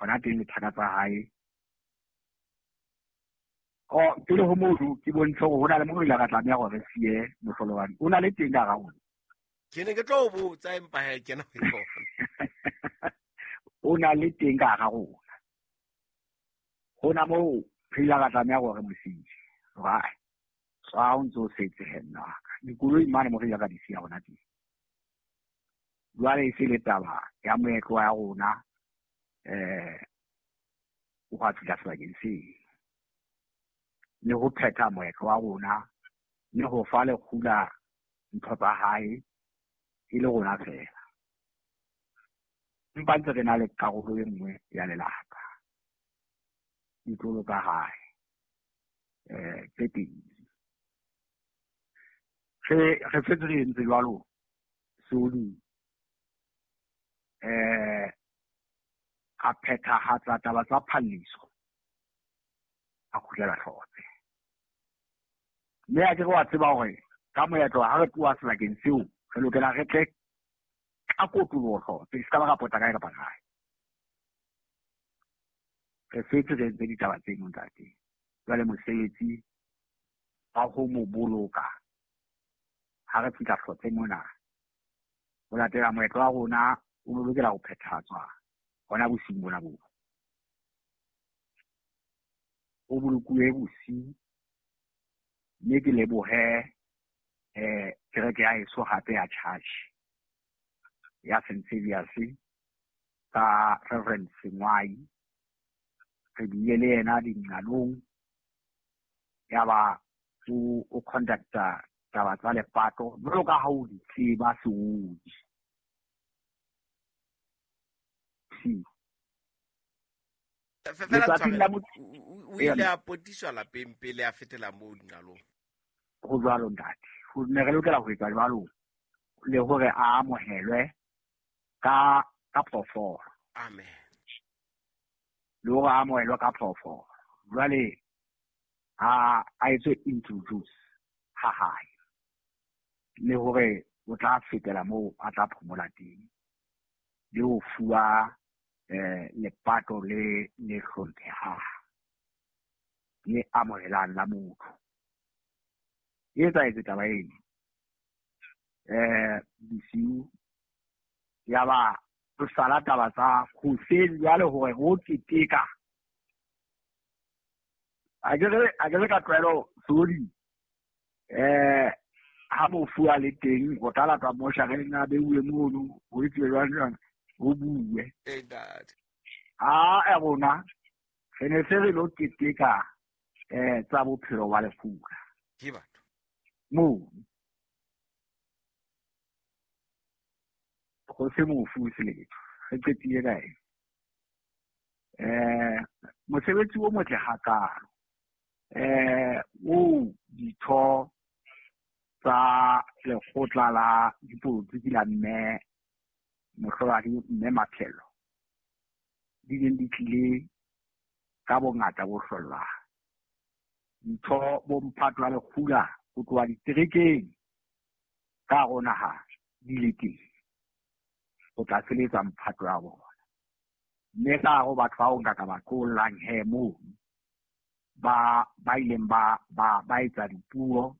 Hona teng le thaka tsa hae. O pele ho mono ke bontshe hore ho na le mo ile ka tlameha hore re siye mohlolohadi. O na le teng ka hara rona. Ke ne ke tlo o botsa empa he kena ho yona. O na le teng ka hara rona. Hona moo re ile ra tlameha hore re mo siye. Hore tswa o ntse o setse he nna wa ka. Dikoloi mane mo re ile ra di siya hona teng. Jwale e se le taba ya moetlo wa rona o hwa fihla sebakeng seo. Le ho phetha moetlo wa rona le ho fa lekgula ntho tsa hae e le rona fela. Empa ntse re na le karolo e nngwe ya lelapa. Ditlolo tsa hae tse pedi. Re setse re entse jwalo seoding. A phethahatsa taba tsa phalliso a kgutlela Hlotse. Mme a ke re wa tseba hore ka moetlo ha re tloha sebakeng seo re lokela re tle ka kotloloho Hlotse, se ka ba ra pota kae kapa kae. Re setse re entse ditaba tseno ntate. Jwale mosebetsi wa ho mo boloka ha re fihla Hlotse mona ho latela moetlo wa rona o lokela ho phethahatswa hona bosiung bona boo. O bolokuwe bosiu mme ke lebohe kereke ya heso hape ya church ya St. Saviour's ka Reverend Sengwai. Re bile le yena dinqalong ya ba o conducta taba tsa lepato jwalo ka ha o di tseba seodi. O ile a potiswa lapeng pele a fetela moo dinqalong. Ho jwalo ntate. Ho ne re lokela ho etsa jwalo le hore a amohelwe ka phoofolo. Amen. Le hore a amohelwe ka phoofolo. Jwale a etswe introduce ha hae. Le hore o tla fetela moo a tla phomola teng. Le ho fuwa lepato le le hlomphehang le amohelang la motho. E etsahetse taba eno. Bosiu ya ba re sala taba tsa hoseng jwale hore ho keteka. A ke re ka tlwaelo sodi ha mofu a le teng o tla latwa moshareng a beuwe mono ho etsuwe jwang jwang ho bue. A rona re ne se re lo keteka tsa bophelo ba lefula. Ke batho. Moo go se mofu se letho re qetile ka eng. Mosebetsi o motle hakalo o ditho tsa lekgotla la dipolotiki la mme mohlolohadi mme Maphelo di neng di tlile ka bongata bo hlollang. Ditho bo mphato wa lekgula ho tloha diterekeng ka hare ho naha di le teng ho tla feletsa mphato ya bona. Mme ka hare ho batho bao nka ka ba tlollang he mono ba ileng ba etsa dipuo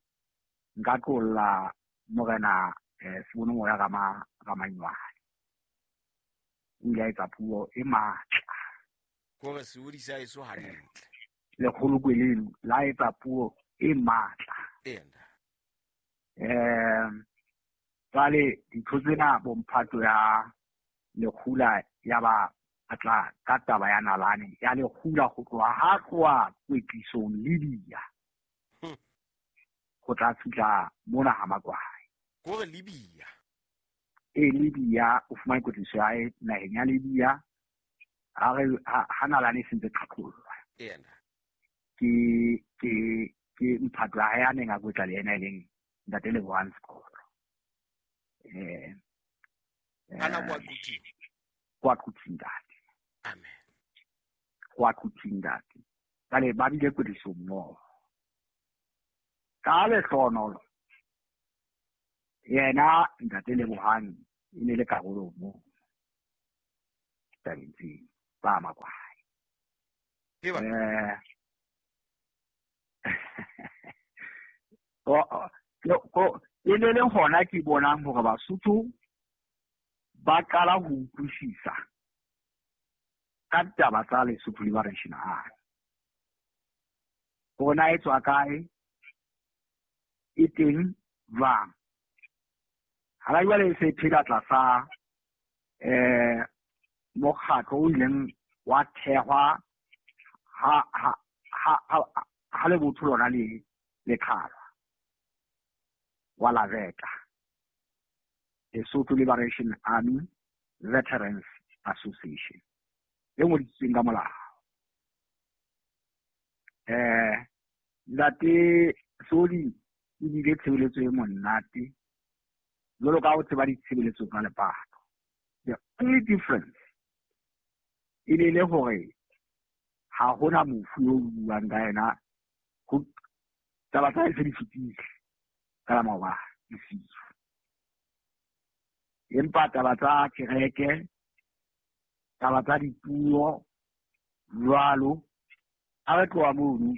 nka tlolla morena Sebonomoya Ramanywane. O ile a etsa puo e matla. Kore seodi sa eso hantle. Lekgolokwe leno la etsa puo e matla. Jwale ditho tsena bomphato ya lekgula ya ba atla ka taba ya nalane ya lekgula ho tloha ha tloha kwetlisong Libya. Ho tla fihla mona ha Makwai. Kore Libya. Libya o fumane kwetliso ya hae naheng ya Libya. Ha nalane e sentse qhaqhollwa. Ke mphato ya hae a neng a kwetla le yena e leng ntate Lebohang Sekolo. Ana kwa Quthing. Kwa Quthing ntate. Amen. Kwa Quthing ntate. Jwale ba bile kwetliso mmoho. Ka lehlohonolo yena ntate Lebohang e ne le karolo moo tabeng tseo. ba Makwae. E ne le hona ke bonang hore Basotho ba qala ho utlwisisa ka taba tsa Lesotho Liberation Army. Hore na e tswa kae, e teng jwang. Hana jwale e se phela tlasa mokgatlo o ileng wa thehwa ha lebotho lona le qhalwa wa la Veta, Lesotho Liberation Army Veterans Association, e ngodisitsweng ka molao. Ntate Soli e bile tshebeletso e monate jwalo ka ho tseba ditshebeletso tsa lepato. The only difference e ne le hore ha hona mofu yo buang ka yena, ho taba tsa hae se di fetile ka la maobane bosiu. Empa taba tsa kereke, taba tsa dipuo jwalo, ha re tloha mono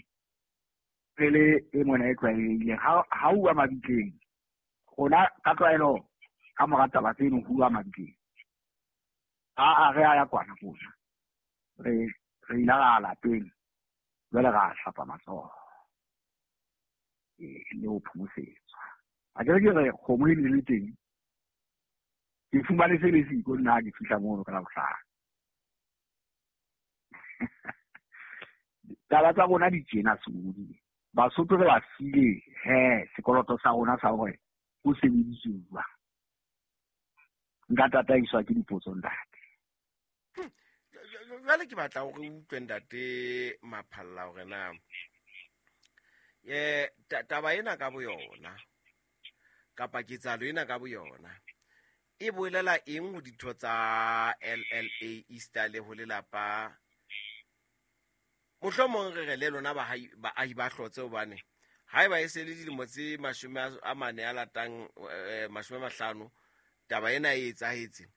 pele e mona e tlwaelehileng, ha uwa mabitleng, rona ka tlwaelo ka mora taba tseno ho uwa mabitleng. A re a ya kwana kona, re ile ra lapeng, jwale ra hlapa matsoho le ho phomosetswa. A ke re kgomo e ne le teng, ke fumane se le siko nna ha ke fihla mono ka Labohlano. Taba tsa rona di tjena Soli. Basotho re ba file sekoloto sa rona sa hore ho sebediswe jwang. Nka tataiswa ke dipotso ntate. Jwale ke batla hore o utlwe ntate Maphalla hore na taba ena ka boyona kapa ketsahalo ena ka boyona e bolela eng ho ditho tsa LLA Easter le ho lelapa? Mohlomong re re le lona baahi ba hlotse, hobane haeba e se le dilemo tse 40 a latang 50 taba ena e etsahetse.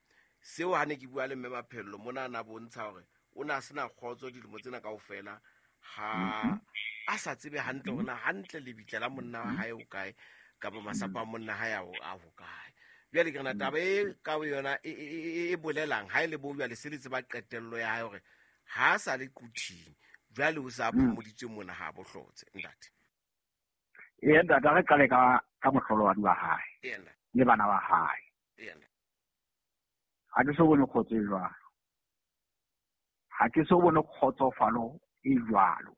Seo ha ne ke bua le mme Maphello mona na bontsha hore o na sena kgotso dilemo tsena kaofela, ha a sa tsebe hantle hore na hantle lebitla la monna wa hae o kae kapa masapo a monna hae a ho kae. Jwale ke rena taba e ka yona e bolelang ha e le bo jwale se le tseba qetello ya hae hore ha a sa le quthing, jwale o sa phomoditswe mona ha bohlotse ntate. Ee ntate, re qale ka mohlolohadi wa hae le bana ba hae. Ha ke so bone kgotso e jwalo, ha ke so bone kgotsofalo e jwalo.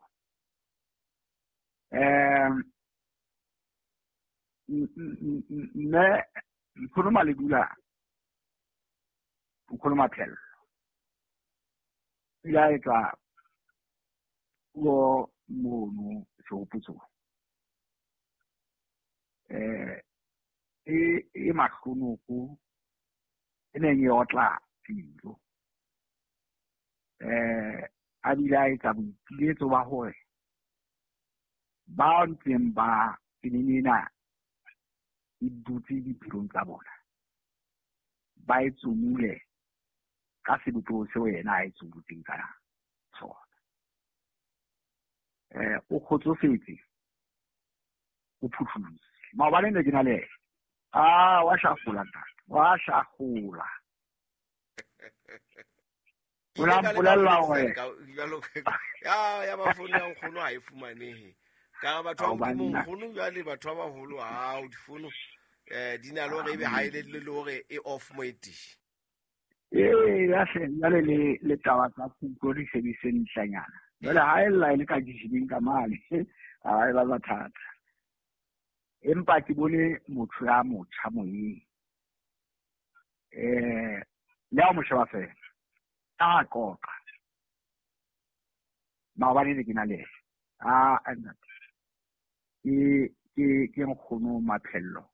Mme Nkgono Maledula, Nkgono Maphello o ile a etsa puo mono sehopotsong e mahlonoko e neng e otla pelo. A bile a etsa boipiletso ba hore ba ntseng ba tsenene ena e dutse dipelong tsa bona, ba e tsomule ka sebopeho seo yena a e tsomotseng ka sona. O kgotsofetse, o phuthulohile. Maobane ne ke na le yena. Wa shafola ntate, wa shafola. O la mpolella hore ya ba founu ya nkgono ha e fumanehe. Ka batho ba Modimo nkgono jwale batho ba baholo ha o difounu di na le hore ebe ha e le hore e off mo e teng. Ya hle jwale le taba tsa kutlo di se di se ntlanyana. Jwale ha e lla e le ka dijibeng ka mane, ha e ba mathata. Empa ke bone motho ya motjha moyeng. Le ha o mo sheba fela, a qoqa. Maobane ne ke na le yena. Ntate. Ke nkgono Maphello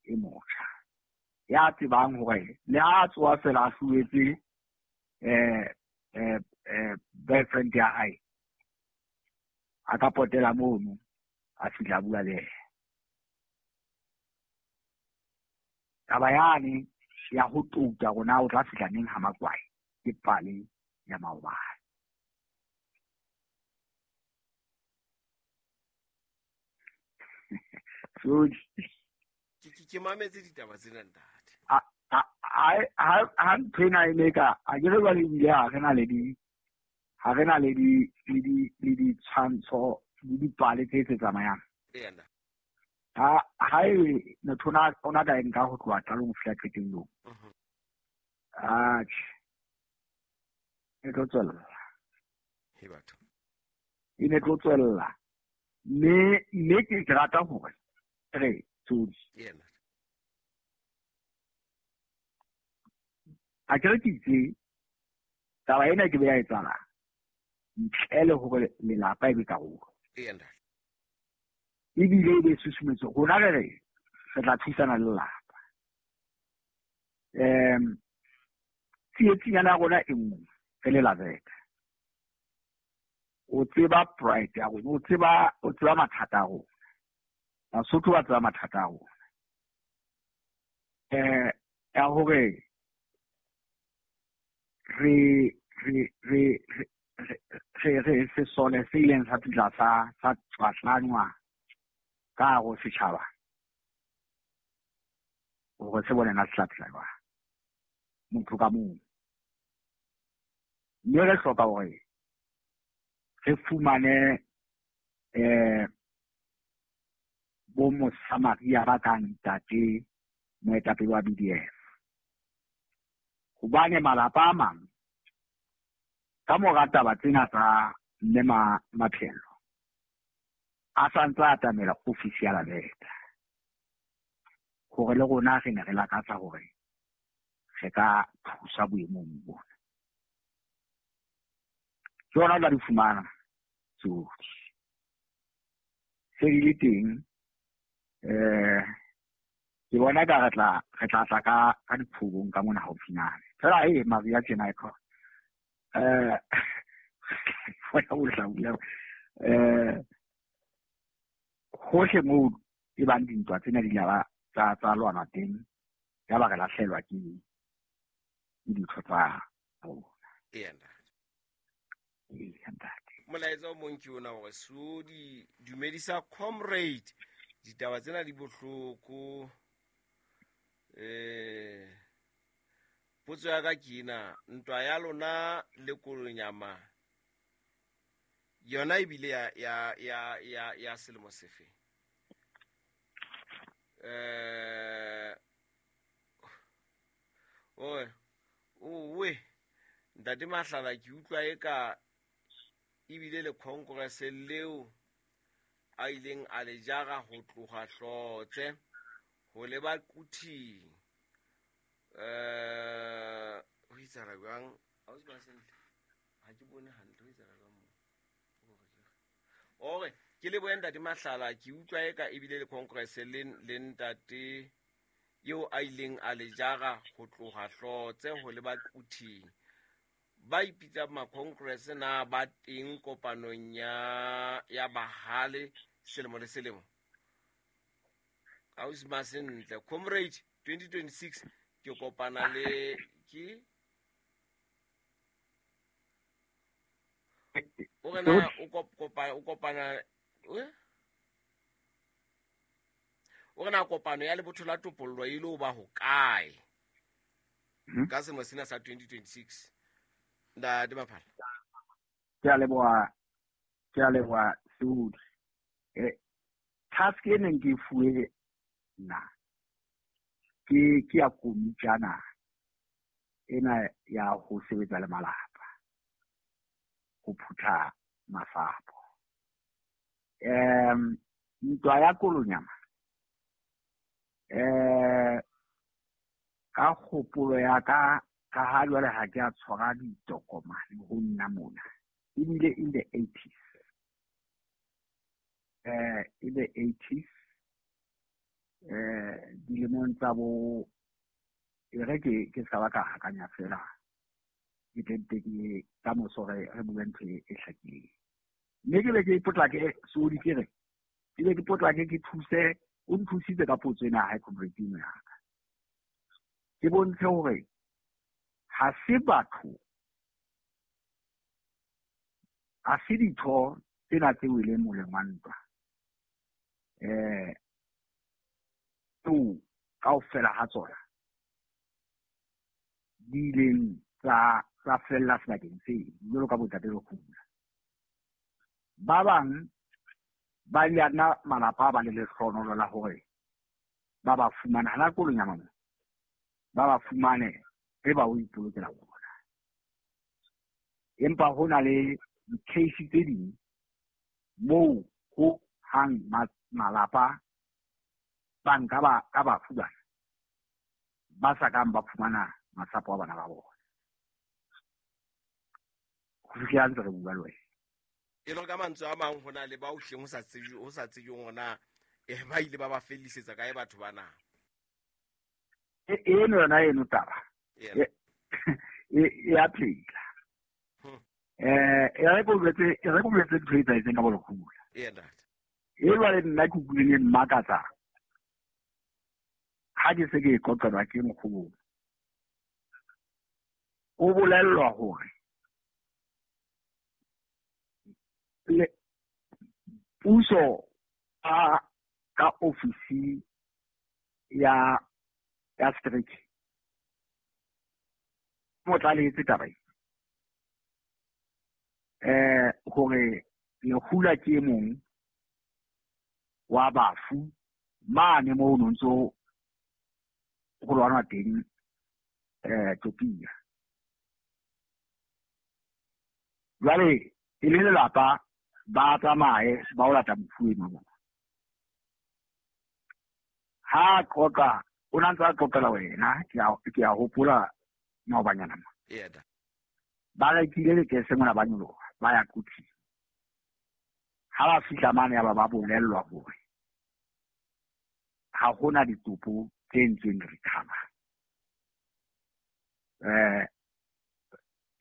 e motjha. Ya tsebang hore le ha tsoa fela a hluetse boyfriend ya hae, a ka potela mono a fihla bua le yena. Taba yane ya ho touta rona o tla fihla neng ha Makwae ke pale ya maobane. So ke mametse ditaba tsena ntate. Ha ntho ena e ne ka a ke re jwale ebile ha re na le di ha re na le di le di le ditshwantsho le dipale tse tse tsamayang. Ha e motho ona ka nka ho tloha qalong ho fihla qetellong. Atjhe. E tlo tswella. He batho. E ne tlo tswella. Mme ke rata hore re tsodi. Yena. A ke re ke itse taba ena ke be ya etsahala ntle le hore lelapa e be karolo. Yena. Ebile e be susumetso rona re re tla thusana le lelapa. Tsietsing ya rona e nngwe re le Laveka. O tseba pride ya rona, o tseba mathata a rona. Basotho ba tseba mathata a rona. Ya hore re sesole se ileng sa fihla sa tswatlangwa ka hare ho setjhaba hore se bone na se tla phela jwang motho ka mong. Mme re hloka hore re fumane bo Mosamaria ba kang ntate moetapele wa BDF. Hobane malapa a mang ka mora taba tsena tsa mme Maphelo a santse a atamela ofisi ya Laveka hore le rona re ne re lakatsa hore re ka thusa boemong bona. Ke hona o tla di fumana tsohle. Se di le teng ke bona ka re tla tla ka diphobong ka mona haufinyane. Fela Maria tjena e khona. Hohle moo e bang dintwa tsena di la tsa lwanwa teng ya ba re lahlelwa ke ditho tsa rona. Molaetsa o mong ke ona hore so di dumedisa comrade ditaba tsena di bohloko. Potso ya ka ke ena, ntwa ya lona le Kolonyama yona ebile ya selemo sefe? Owe ntate Mahlala ke utlwa eka ebile le congress leo a ileng a le jara ho tloha Hlotse ho leba Quthing. Ho itsara jwang? Ha o se sentle. Ha ke bone hantle ho itsara jwang mo. Ore ke le boe ntate Mahlala ke utlwa eka ebile le congress le ntate eo a ileng a le jara ho tloha Hlotse ho leba Quthing. Ba ipitsa ma congress na ba teng kopanong ya bahale selemo le selemo. Ausi Masentle comrade 2026 ke kopana le ke o rena o kopana o rena kopano ya lebotho la topollo e ile ba ho kae ka selemo sena sa 2026? Ntate Maphala. Ke a leboha Seudi. Task e neng ke fuwe nna ke ya komitjana ena ya ho sebetsa le malapa ho phutha mafapo. Ntwa ya Kolonyama ka kgopolo ya ka ka ha jwale ha ke a tshwara ditokomane ho nna mona ebile in the 80s in the 80s dilemong tsa bo e re ke ska ba ka hakanya fela ke tente ke ka moso re bue ntho e hlakileng. Mme ke be ke potlake Seodi ke re ke be ke potlake ke thuse o nthusitse ka potso ena ha comrade eno ya ka. Ke bontshe hore ha se batho Ha se ditho tsena tse weleng moleng wa ntwa tseo kaofela ha tsona di ileng tsa fella sebakeng seo jwalo ka bontate Lekgula. Ba bang ba ile nna malapa ba le lehlohonolo la hore ba ba fumane hana kolonyama mo, ba ba fumane e ba o ipolokela bona. Empa ho na le di-case tse ding moo ho hang malapa ba nka ba ka bafu bana ba sa kang ba fumana masapo a bana ba bona. Ho fihlela ntse re bua le wena. E le ka mantswe a mang ho na le ba o hleng ho sa tsejweng hona ba ile ba ba fellisetsa kae batho bana. Eno yona eno taba e a phela. E re ko boletse ntho e etsahetseng ka Bolekgula. E jwale nna ke utlwileng e mmakatsa ha ke se ke e qoqelwa ke nkgono. O bolellwa hore puso ka ofisi ya street mo tlalehetse taba e hore Lekgula ke e mong wa bafu mane moo no ntso ho lwanwa teng Topia. Jwale e le lelapa ba tsamaye ba o lata mofu enwa mona. Ha qoqa o na ntse a qoqela wena, ke a hopola maobanyana ma. Ba rekile lekese mona ba nyoloha ba ya Quthing. Ha ba fihla mane ya ba bolellwa hore ha hona ditopo tse ntseng recover.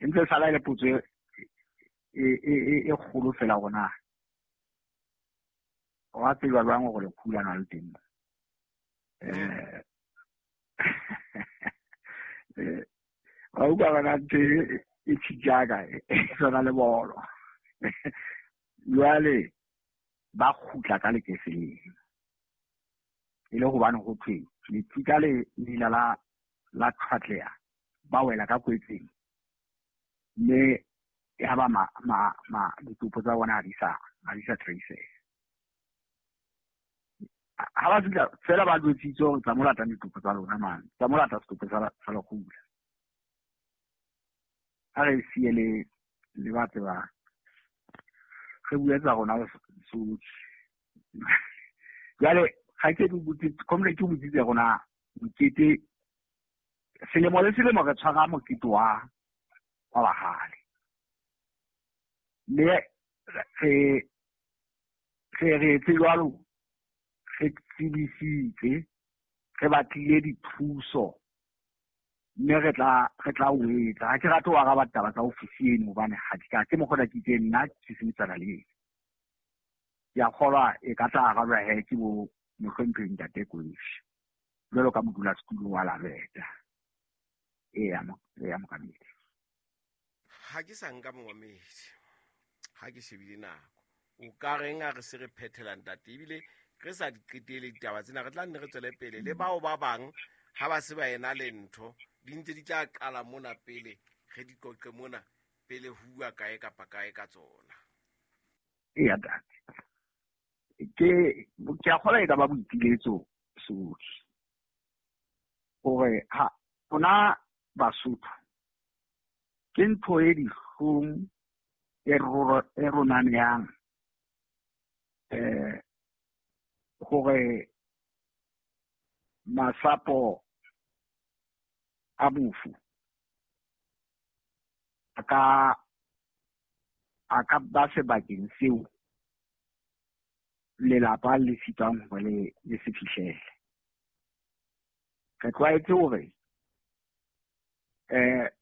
Ntse sala ile potso e kgolo fela rona. Wa tseba jwang hore Lekgula na le teng? Wa utlwa bana ntho e tjhijaka e tshwana le bolo. Jwale ba kgutla ka lekese leno. E le hobane ho thwe letsika le lila la tshwatleha ba wela ka kwetseng mme ya ba ma ditopo tsa bona ha di sa trace. Ha ba fihla fela ba jwetsitse hore tsa mo lata ditopo tsa lona mane, tsa mo lata setopo sa Lekgula. Ha re siye le ba tsebang re bue tsa rona Sotho. Jwale ga ke comrade ke botsitse rona mokete selemo le selemo re tshwara mokete wa bahale. Mme re etse jwalo, re tsebisitse, re batlile dithuso mme re tla o etsa. Ha ke rate ho araba taba tsa ofisi eno hobane ha ke ka ke mokgona ke itse nna ke sebetsana le ena. Ke a kgolwa e ka tla arabjwa he ke bo mohlomphehi Ntate Koishi jwalo ka modulasetulo wa Laveta. Eya mokamedi. Ha ke sa nka momamedi, ha ke shebile nako o ka reng a re se re phethela ntate, ebile re sa di qetele ditaba tsena, re tla nne re tswele pele le bao ba bang ha ba se ba ena le ntho di ntse di tla qala mona pele re di qoqe mona pele ho bua kae kapa kae ka tsona. Eya ntate, ke a kgolwa e ka ba boipiletso Sotho hore ha rona Basotho ke ntho e dihlong e ronaneyang hore masapo a mofu a ka ba sebakeng seo lelapa le sitwang hore le se fihlele. Re tlwaetse hore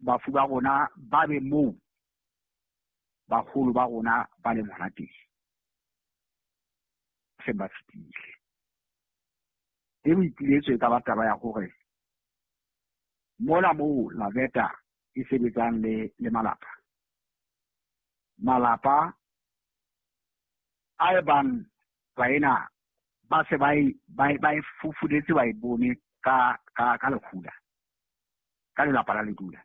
bafu ba rona ba be moo baholo ba rona ba leng hona teng, se ba fetile. E boipiletso e ka ba taba ya hore mona moo Laveta e sebetsang le malapa, Malapa a e bang baena ba se ba e fufuletse ba e bone ka lekgula, ka lelapa la ledula.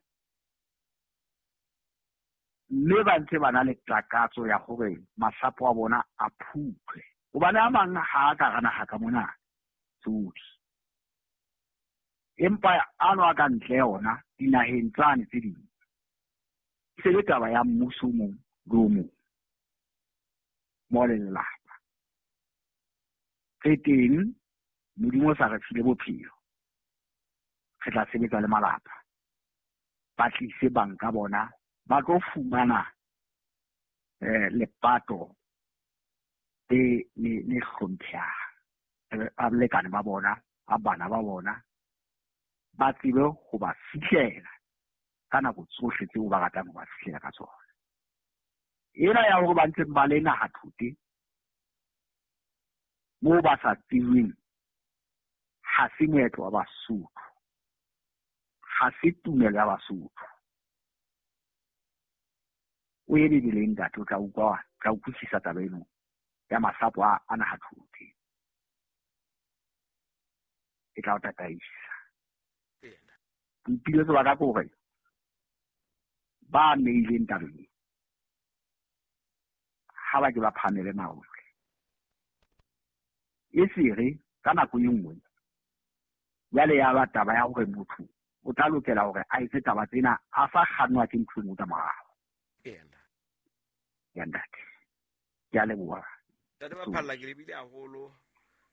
Mme ba ntse ba na le takatso ya hore masapo a bona a phuthwe. Hobane a mang ha a ka hara naha ka mona tsohle. Empa ano a ka ntle ona dinaheng tsane tse ding. E se le taba ya mmuso o mong le o mong. Mo le lelapa. Re teng, Modimo o sa re file bophelo. Re tla sebetsa le malapa. Ba tlise banka bona ba tlo fumana lepato le hlomphehang. Ba balekane ba bona, ba bana ba bona, ba tsebe ho ba fihlela ka nako tsohle tseo ba ratang ho ba fihlela ka tsona. Ena ya hore ba ntse ba le naha thote moo ba sa tsebeng, ha se moetlo wa Basotho, ha se tumelo ya Basotho. O ye Bibeleng ntate, o tla utlwa, tla utlwisisa taba eno ya masapo a naha thote. E tla o tataisa. Boipiletso ba ka ke hore ba ameileng tabeng ha ba ke ba phahamele marole. E sere ka nako e nngwe jwale ya ba taba ya hore motho o tla lokela hore a etse taba tsena a sa kgannwa ke ntho e nngwe ka morao. Ya ntate, ke a leboha. Ntate Maphalla, ke lebile haholo.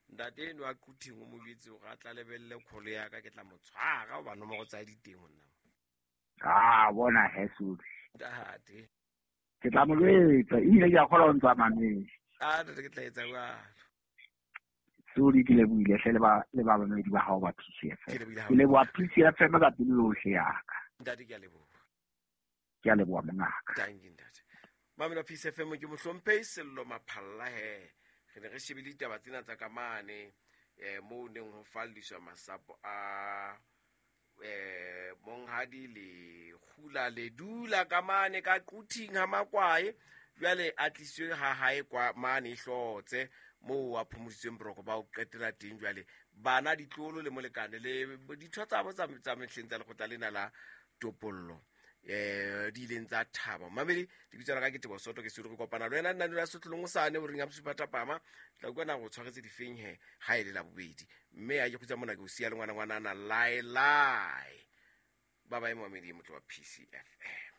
Ntate eno a Quthing o mo jwetse hore a tla lebelle kholo ya ka, ke tla mo tshwara hoba nomoro tsa di teng ho nna. Ah, bona he Sodi. Ntate. Ke tla mo jwetsa, ebile ke a kgolwa o ntse a mametse. Ah, ntate, ke tla etsa jwalo. Sodi, ke lebohile hle le ba bamamedi ba hao ba PCFM. Ke leboha PCFM ka pelo yohle ya ka. Ntate, ke a leboha. Ke a leboha mongaka. Thank you, ntate. Mamelo PCFM ke mohlomphehi Sello Maphalla he. Re ne re shebile ditaba tsena tsa ka mane moo neng ho falliswa masapo a monghadi le kgula le dula ka mane ka Quthing ha Makwae. Jwale a tliswe ha hae kwa mane Hlotse moo a phomoditsweng boroko ba ho qetela teng. Jwale bana ditlolo le molekane le ditho tsa bo tsa mehleng tsa lekgotla lena la topollo di ileng tsa thaba. Mamedi, lebitso la ka ke Teboho Soto, ke se re kopana le wena nna la Sotlolong hosane o reng ya bosupa thapama. Tla utlwa na go tshwaretse difeng he ha e le la bobedi. Mme a ke kgutsa mona ke o siya le ngwana ngwana lae lae. Ba ba mamedi motho wa PCFM.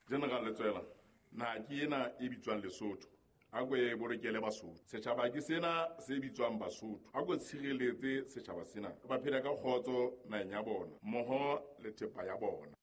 General Letsoela, na ke ena e bitswang Lesotho. A ko e bolokele Basotho. Setjhaba ke sena se bitswang Basotho. A ko tshireletse setjhaba sena. Ba phela ka kgotso naheng ya bona, mmoho le thepa ya bona.